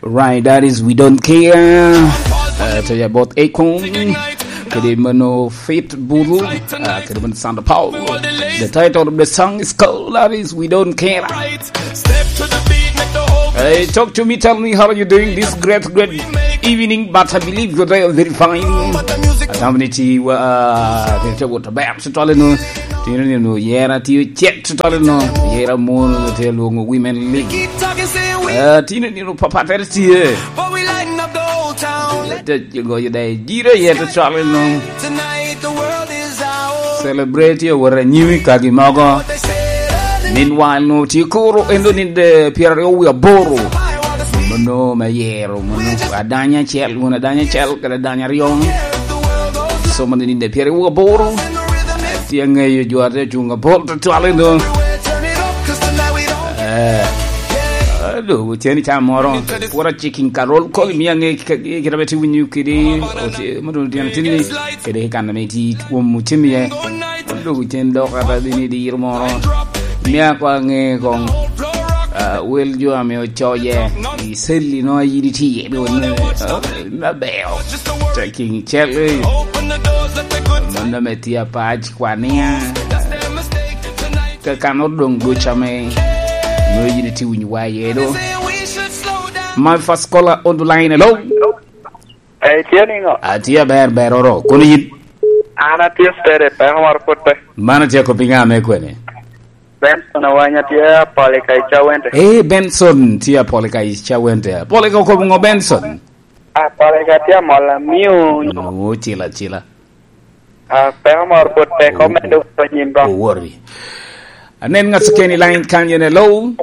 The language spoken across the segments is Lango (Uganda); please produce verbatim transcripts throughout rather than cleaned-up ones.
Right, that is We Don't Care. Uh, to your both Akon. Kede mano Fit Buru. Uh, kede mano Sandra Paul. The title of the song is called, that is We Don't Care. Hey, talk to me, tell me how are you doing this great, great evening, but I believe you're doing very fine. Atamni ti wa, ti te wot aber, so tole no. Tino ni no, yera ti cek, so tole no. Yera mon, te luongo women league. Eh, tino ni no, papa tere ti, eh. Te goyo dai, jiro yet, so tole no. Celebrate your wara nyimi kagi mogo. Meanwhile, no, ti kuro, endo ni de, piero aryo wie aboro. Mono me yero, mono adanya acel, mono adanya acel, kede adanya aryo. So, mono ni de piero aryo wie aboro. Ti aŋeyo jo ate cuŋ apol, tutwale, no. Eh, ado, ceni ca moro. Pura chicken carol, koli mi aŋe ki, ki, kite ame ti winyo kidi, oti-, mono tyen tin ni, kede kan ame ti twom otim iye. Odwogo cen dok ata bini diro moro. Mia kwa ŋe koŋ, ah, wel jo ame ocoye i celli no a yin itye iye, do ni, ah, maber. Taking cel, eh. Mano me tye apac kwania. Ka kan odong duc ame no yin itye winyo wa iye do. My first caller on the line, hello? Eh, itye niŋo? Atye aber, beroro. Kono yin? An atye steady, peko moro pwod pe. Man atye kop i ŋa me kwene? Benson Awanya tye Apolika i Cawente. Eh, Benson tye Apolika i Cawente. Apolika okobo ŋo, Benson? Apolika tye amol amio. No, cila, cila. Ah, peko moro pwod pe, oh, omedo oh, nyim ba. Owori. Anen ŋat keken i line kanyo, hello?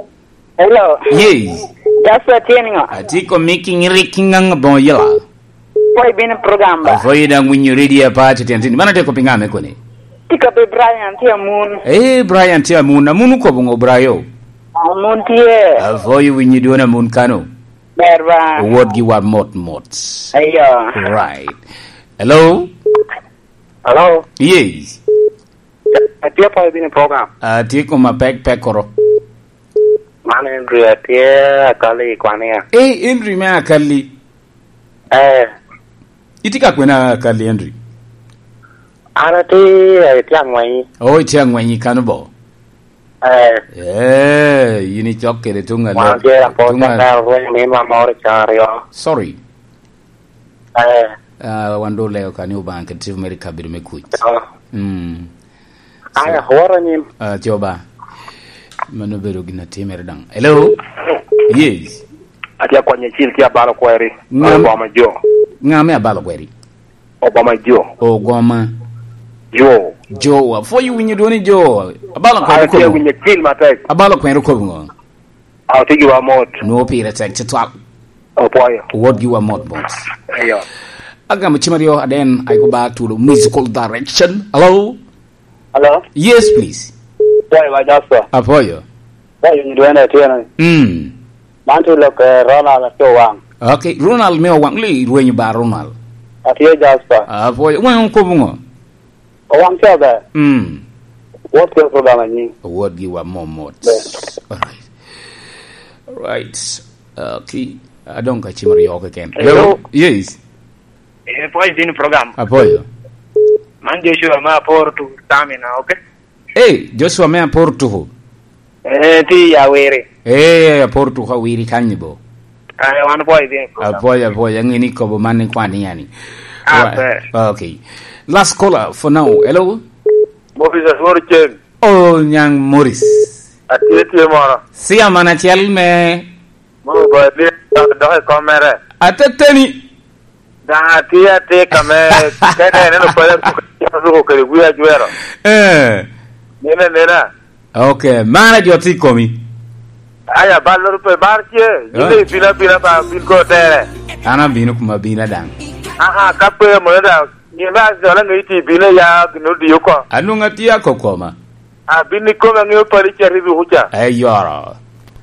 Hello. Yes. Joshua tye niŋo? Atye ka miki ŋirik ki ŋaŋ aboŋo yela. Pwod ibino i program ba? Apwoyo daŋ winyo redio apaco tyen tin. Man atye kop i ŋa me koni? Tye kop i Brian tye Amun. Eh, Brian tye Amun. Amun okobo ŋo, Brayo? Amun tye. Apwoyo winyo dwon Amun kano. Ber ba. Owot gi wa mot mot. Ayo. Right. Hello? Hello? Yes. Atye apwoyo bino i program. Atye koma pek pek koro. Man Henry, atye Akali i Kwania. Eh, Henry me Akali. Eh. Itye ka kwena Akali, Henry? An atye, eh, itye Angwenyi. Oh, itye Angwenyi kano bo? Eh. Eh, yin icok kede tuŋ a wan tye rapor tuŋ a ka rweny ni ma moro i can aryo. Sorry. Eh. Ah, wan doŋ oleo ka ni Obaŋa kede tipo mere i kabedo me kuc. Oh. Mm. Aya, so, woro anyim. Ah, coba. Mano obedo gin atimere daŋ. Hello? Yes. Atye akwany acil tye abalo kweri. Ŋa-, Obama Jo. Ŋa me abalo kweri? Obama Jo. Ogoma. Jo. Jo, apwoyo winyo dwoni Jo. Abalo kweri. Atye winyo cil matek. Abalo kweri okobo ŋo? Aw, tye giwa mot. Nwoŋo pire tek tutwal. Opwoyo. Wot giwa mot mot. Eyo. Agamo cim aryo, and then I go back to the musical direction. Hello? Hello? Yes, please. Pwoyo wa Joshua. Apwoyo. Pwoyo ni dwene tye ni. Mm. Man tye lok, eh, Ronald atye Owaŋ. Okay, Ronald me Owaŋ, li rwenyo ba Ronald. Atye Joshua. Apwoyo. Waŋ okobo ŋo? Owaŋ ca ber. Mm. Wot kede program anyi. Wot giwa mot mot. Ber. All right. All right. Okay. Adong ka cim aryo keken. Hello? Hello? Yes. Eh, pwoyo din program. Apwoyo. Man Joshua me Apor to Tamina, okay? Eh, Joshua me Apor tuko. Eh, ti ya wiri. Eh, Apor tuko Awiri kanyi bo. Eh, wan pwoyo din program. Apwoyo, apwoyo, ang'e ni kobo man ni kwan yani. Ah, right. Ber. Okay. Last caller for now. Hello? Morris Aswor Ceng. Oh, Nyang Morris. Atye tye moro. Sia man acel me Mo ba tye dok i kom mere. Ateteni. Daŋ atye atika me kene neno pala ruko kede wi ajwero. Eh. Nena, nena. Okay, mara jo tye i komi. Aya, bal loro pe bar tye. Yin, ah, ibina, bina ba bin ko tere. An abino kuma bina daŋ. Aha, ka pe mo da. Ni ba dola ngi ti bina ya gino di oko. Anung atye akokoma. Abin ikome aŋeo pali ca ribi kuca. Eyoro.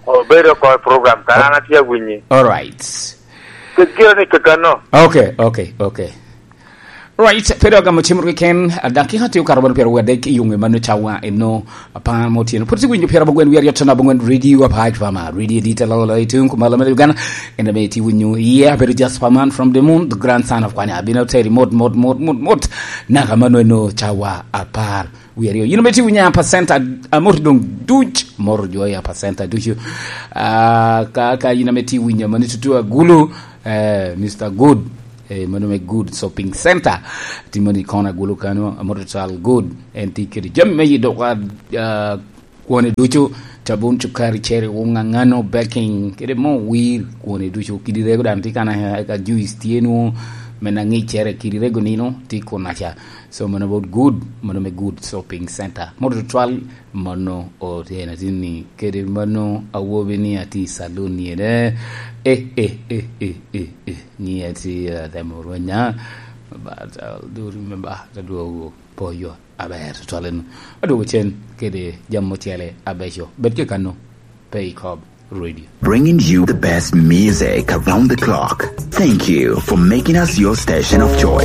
Obedo oko i program, kara an atye awinyi. All right. Kegiro ni kekano. Okay, okay, okay. Right, pe dok agamo cimoro keken, dakika tye okato bot pyeraryo adek i yunge mano cawa eno apar mo otyeno. Pwod itye winyo pyerabongwen wiye aryo con abongwen Radio Apac Pama, Radio Dita Lolo i tung kumalo me Uganda. En ame itye winyo iye, abedo just pa man from the moon, the grandson of Kwanya. Abino teri mot, mot, mot, mot, mot. Naka mano eno cawa apar wiye aryo. Yin ame itye winyo apacenta amot dong duc, moro jo ya apacenta ducu. Ah, ka, ka yin ame itye winyo mano tutu agulu, eh, Mister Good, eh, mano me Good Shopping Center. Timo ni kona gulu kano, amot total good. En tye kede jami me yi dok, ah, kwone ducu, cabun, cukari, ceri, wunga, ngano, baking, kede mo wir, kwone ducu. Kidi rego dan tye kana, ka juice tye nu, me na ngicere, kidi rego nino, tye kuna ca. So, mano about Good, mano me Good Shopping Center. Mot total, mano otena tini, kede mano awobi ni ati saloon ni ene. Eh, eh, eh, eh, eh, eh. Ni ati, eh, temo rwenya. But I'll do remember the duogo poyo. Aber, total eno. Aduogo cen kede jam ocele abeco. Bet ke kano, pe i kob radio. Bringing you the best music around the clock. Thank you for making us your station of choice.